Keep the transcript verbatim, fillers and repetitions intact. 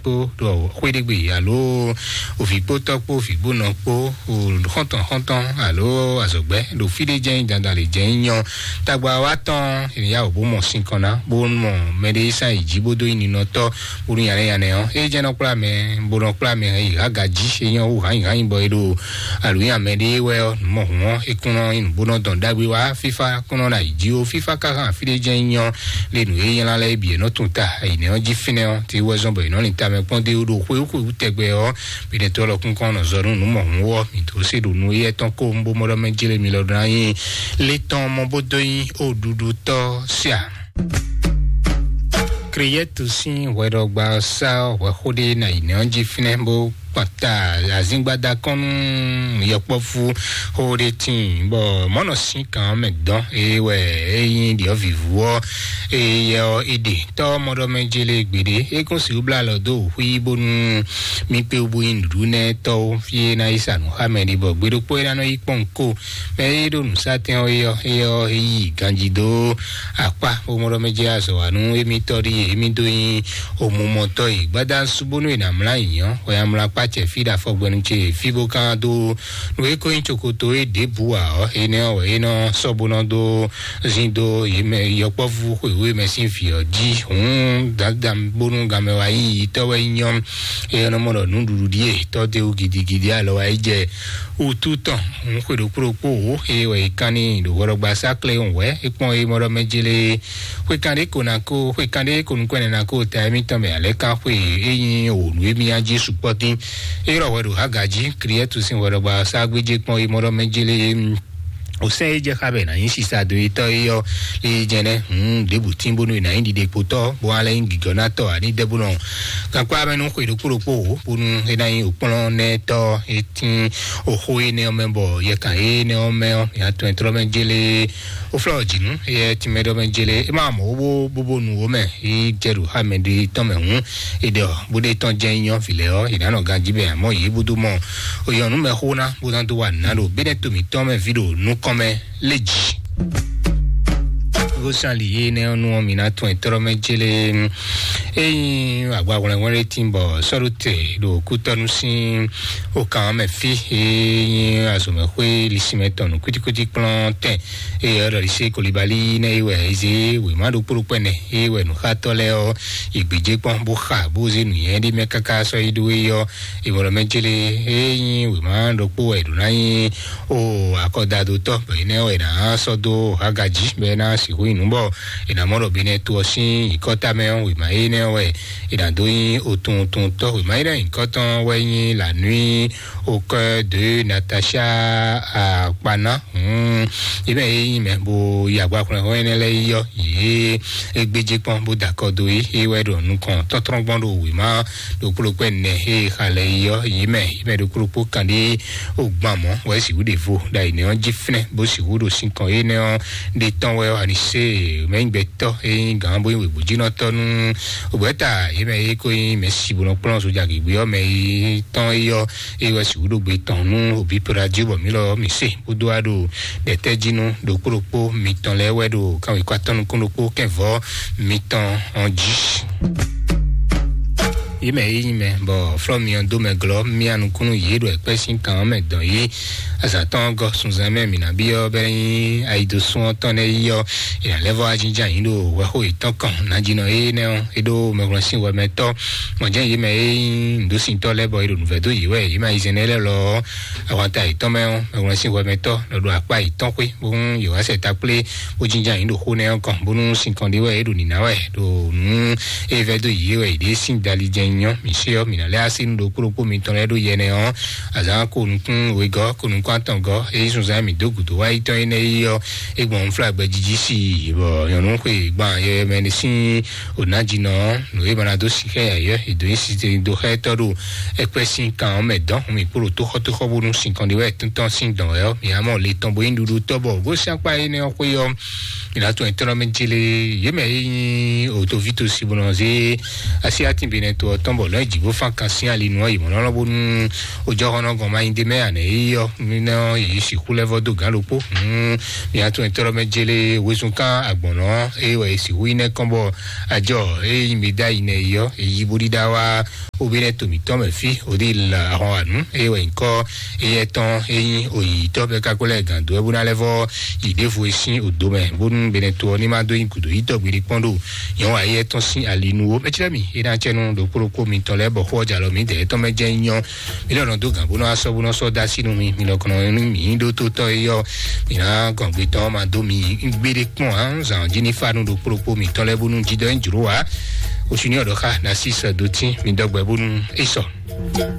kpó ɖo xwéɖégbé alo òvǐ kpó tɔ́ kpó vǐ kpó nɔ kpó xɔ́ntɔn xɔ́ntɔn alo azɔ̌gbɛ́ ɖo fí ɖé jɛ́n dandan lě jɛ́n nyɔ tagba wa tɔn ènìyá ò bó mɔ sinkɔn ná bó mɔ mɛɖé sá yi jí bó dó yi ninɔtɔ́ bó nú yanɛ yanɛ ɔ́ é jɛ́n nɔ kplá mɛ bó nɔ kplá mɛ yi há gají é nyɔ́ wú hányǐhányǐ bɔ é ɖo alǔnyà mɛɖé wɛ ɔ́ nǔ mɔ hǔn ɔ́ é kún nɔ nyí nǔ bó nɔ dɔn ɖagbe wá fífá kún nɔ ná yi jí ó fífá ká hán fí ɖé jɛ́n nyɔ lé nǔ e nylá lɛ́ɛ bǐ è nɔ tunwun ta yi nɛ́ ɔ́ jí fínɛ́ ɔ́ tí wɛ zɔ́n bɔ è nɔ lin tamɛ kpɔ́n dó ɖo xwé xwé wú tɛgbɛ ɔ́ bǐ ɖe tó lɔ kún kɔn nɔ zɔ nú nǔ mɔ hǔn ɔ́ mǐ dó se ɖo nú éyɛ́ tɔn kó un bó mɔ ɖɔ mɛ jlé mi lɔ ɖó ná nyí lé tɔn mɔ bó dó nyí ó ɖuɖu tɔ́ sia. Kriyɛtu sín hwɛɖɔgba sá hwɛxó ɖé ná yi nɛ́ ɔ́ jí fínɛ́ bó kpɔn ta azíngbádá kɔn nú yɔkpɔ́vú xó ɖé tíin bɔ mɔ̌ nɔ sín kan ɔ́ mɛ dɔn eye wɛ é nyí ɖiɔ̌vǐvú ɔ́ eye yɛ ɔ́ é ɖe tɔ́ mɔɖɔmɛ jélé gbeɖé é kún sixú blá alɔ dó wǔ xwí bónú mí kpé wú bó nyí nǔɖuɖu nɛ́ tɔ́wó fí é ná yi sa nǔ xá mɛ ɖé bɔ gbe ɖokpó é ná nɔ yi kpɔ́n ko mɛ é ɖo nǔsatɛn ɔ́ é ɔ́ é ɔ́ é yi ganjí dó akpá bó mɔɖɔmɛ jɛ azɔ̌ wa nú émítɔ́ ɖíe émí dó nyí omumɔtɔ́ yi gbadá sú bónú è nǎ mlá nyǐnyɔ́ hwɛ amlakpá cɛ fí ɖo afɔgbɛnu ce fí bó kán dó nú é kó nyí cokoto é ɖěbǔ ǎ ɔ́ énɛ́ ɔ́ wɛ é nɔ sɔ́ bó nɔ dó zín dó yě mɛ yɔkpɔ́vú xwěwé mɛ sín vǐ ɔ́ jí hǔn dandan bónú ganmɛ wa nyí yitɔ́ wɛ nyí nyɔ́ é nɔ mɔ ɖɔ nǔɖuɖu ɖíe tɔ́ dó gidigidi alɔ wa yi jɛ wútu tɔn hǔn xwe ɖokpó ɖokpó wǒ é wɛ é kán n'i ɖo hwɛɖɔgba sá klé hǔn wɛ é kpɔ́n é mɔ ɖɔ mɛ jélé xwe kan ɖé ko ná kó xwe kan ɖé ko nukɔn ɛnɛ ná kó ta émítɔn mɛ alɛ kan xwe é nyí òwò nú émí á jí sukpɔ́ dín é ylɔ́ hwɛ ɖo hága jí kriɛ́tu sín hwɛɖɔgba sá gbéjé kpɔ́n é mɔ ɖɔ mɛ jélé o sɛ́ é jɛ xá bɛ nǎ nyí sisa do etɔ́ é yɔ lé jɛnɛ hǔn ɖěbǔ tín bónú è nǎ nyí ɖiɖekpotɔ́ bó wá lɛ́ nyí gǐgɔ́nátɔ́ ǎ ní dɛ́ bó nɔ gankpá mɛ nú xwe ɖokpó ɖokpó wǒ bónú é ná nyí òkplɔ́nɛtɔ́ é tín oxó énɛ́ ɔ́ mɛ bɔ yɛkan énɛ́ ɔ́ mɛ ɔ́ mǐ atɔn e tlɔ́ mɛ jélé ó flɔ́ ɔ́ jǐ nú éyɛ́ tínmɛ ɖɔ mɛ jélé é má mɔ ó bó bóbó nu ó mɛ é jɛ ɖo xá mɛ ɖé tɔn mɛ hǔn é ɖɔ bó ɖé tɔn jẹ́ nyɔ́ vǐ lɛ́ɛ ɔ́ è nǎ nɔ ganjí bɛ àmọ́ yě bó dó mɔ òyɔn nú mɛ xó ná bó ná dó wa nǔ ná ɖo bínɛ́ to mǐtɔn mɛ ví ɖo nukɔn mɛ lé jǐ. Gosali yé nɛ ɔ́ nú ɔ́ mǐ ná tún ɛ tlɔ́ mɛ jélé ényí agbahwlɛ́nhwlɛ́n tín bɔ sɔ́ɖótɛ ɖo kútɔ́nú sín okan mɛ fí ényí azɔ̌mɛxwé lisimɛ tɔn nǔ kwítíkwítí kplɔ́n tɛn eye ɔ́ ɖɔ ɖisí kolibali nɛ yi wɛ eze wěma ɖokpó ɖokpó ɛnɛ eye wɛ nǔxatɔ́ lɛ́ɛ ɔ́ yi gbějé kpɔ́n bó xa bó zé nǔnywɛ́ ɖé mɛ káká sɔ́ yi ɖó é ɔ́ ìmọ̀lọ́mɛ jélé ényí wěma ɖokpó wɛ ɖǒ ná nyí o akɔdadotɔ bɔ énɛ́ wɛ ná sɔ́ dó hagají bɔ é ná sixú nyi nǔ bɔ è nǎ mɔ ɖɔ benɛ to ɔ́ sín nyǐkɔ́ta mɛ ɔ́ wěma énɛ́ wɛ è nǎ dó nyí otuntuntɔ wěma énɛ́ nyǐkɔ́tɔn wɛ nyí la nuit au cœur de Natacha Akpana. Hmm. Yě mɛ yé nyí mɛ bó yi agba xwlɛ́nxwlɛ́n énɛ́ lɛ́ɛ yi ɔ́ yě é gbéjé kpɔ́n bó da akɔ dó yí é wɛ ɖo nukɔn tɔ́trɔ́n gbɔn ɖo wěma ɖokpó ɖokpó ɛnɛ é xa lɛ yi ɔ́ yě mɛ yě mɛ ɖokpó ɖokpó kan ɖé ó gbán mɔ̌ wɛ sixú ɖe vo ɖo ayǐ nɛ́ ɔ́ jí flɛ́n bó sixú ɖo sinkɔn énɛ́ ɔ́ ɖe tɔn wɛ ɔ́ ani sé mɛ nyí gbɛtɔ́ é nyí gǎn bó nyí wěbǔjínɔtɔ́ nú ògbɛ́ta yě mɛ é kó nyí mɛ si bó nɔ kplɔ́n sójà gěgbé ɔ́ mɛ yi tɔn é ɔ́ é wɛ sixú ɖo gbe tɔn nú òbí pera jí bɔ mǐ lɔ mǐ se bó dó wá ɖo ɖɛtɛ́jínú ɖokpó ɖokpó mitɔn lɛ́ɛ wɛ ɖo kanwekɔ atɔ́ nukún ɖokpó kɛnvɔ́ mitɔn ɔ́ jí. Yě mɛ yé nyí mɛ bɔ flɔ́ mi ɔ́ dó mɛ glɔ́ mía nukúnnú yě ɖo ɛkpɛ́ sín kan ɔ́ mɛ dɔn yí azǎn tɔn gɔ́ sunzan mɛ mǐ ná byɔ́ bɛ́ nyí ayidosún ɔ́ tɔn nɛ́ yí ɔ́ è nǎ lɛ́ vɔ́ wá jínjɔ́n ayǐ ɖo hwɛxó yětɔn kɔn nǎjínɔ énɛ́ ɔ́ é ɖó mɛhwlɛ́nsín wɛ mɛ tɔ́ mɔ̌jɛ́n yě mɛ e nyí nǔɖosíntɔ́ lɛ́ɛ bɔ è ɖo nǔvɛ́ dó yě wɛ yě mɛ ayizɛ́n lɛ́ɛ lɔ ahwata yětɔn mɛ ɔ́ mɛhwlɛ́nsín hwɛ mɛ tɔ́ lɔ ɖo akpá yětɔn xwé bónú yě wá sɛ ta kplé bó jínjɔ́n ayǐ ɖo xó nɛ́ ɔ́ kɔn bónú sinkɔn ɖé wɛ é ɖo nǐná wɛ ɖo nǔ e vɛ́ dó yě wɛ yě ɖée sín dali jɛ nyɔ mǐ sé ɔ́ mǐ ná lɛ́ así nú ɖokpó ɖokpó mitɔn lɛ́ɛ ɖó yɛ nɛ́ ɔ́ azǎn ko nukún wegɔ́ ko nukún atɔngɔ́ é yí sunzán mǐ dó gǔdo wá yi tɔn énɛ́ yi ɔ́ é gbɔn nǔflágbɛ jíjí sí i bɔ nyɔ̌nu xwe gban yɛ mɛ ní sín ònájínɔ nǔ e ma ná dó sixá yayɔ́ è dǒ nyi sise dó xá étɔ́ ɖo ɛkpɛ́ sín kan ɔ́ mɛ dɔn hun mì kpó ɖo tóxɔ́tóxɔ́ bónú sinkɔn ɖé wɛ tɔ́ntɔ́n sín dɔn wɛ ɔ́ mǐ ná mɔ le tɔn bó nyí ɖuɖu tɔ́ bɔ gosín akpá énɛ́ ɔ́ xwé ɔ́ mǐ ná tɔn nyǐtɔ́nɔmɛ jélé yě mɛ é nyí òtoví tosi bó nɔ zé así atínbinɛ to ɔ́ tɔn bɔ lɔn jǐ bó fán kan sín ali nú ɔ́ yi mɔ̌ lɔlɔ bónú ojɔxɔnɔ gɔn ma nyi ɖe mɛ anɛ yi ɔ́ nínú yě sixú lɛ́ vɔ dó gǎn ɖokpó. Mia tún etɔ́ mɛ jele wezun kan agbɔ̌nɔ eye wɛ sixú yi nɛ kɔn bɔ ajɔ eye nyi mi da yi nɛ yi ɔ́ yi bó ɖíɖá wá obi nɛ to mǐtɔn mɛ fí odi la ahɔn anu eye wɛ nyikɔ eye tɔn eyin oyi tɔ bɛ kakó lɛ gǎn dó ɛ bó ná lɛ vɔ yi ɖěvo e sín odo mɛ bónú benɛ to ɔ́ ní má dó nyi gǔdo yi tɔgbe ɖi kpɔ́n ɖo nyɔ̌ ayé tɔn sín ali nu wo mɛtsirɛ mi e ná cɛ nu ɖo kpóɖokpó mitɔn lɛ bɔ xó ɔjà lɔ mi dɛ etɔn mɛ jɛ nyɔ mi lɛ nɔ dó gǎn bó nɔ asɔ bó nɔ sɔ dá sínú mi mi lɔ kɔnɔ mi ɖó tó tɔ eyɔ mi ná gɔn gbé tɔn ma dó mi gbéɖé kpɔn hàn zàn jí ní fanu ɖo kpóɖokpó mitɔn lɛ bónú jídɔ ń jùrú wa oṣù ní ọ̀dọ́ ká ná sí sọ dó tí mi dɔgbẹ́ bónú é sọ.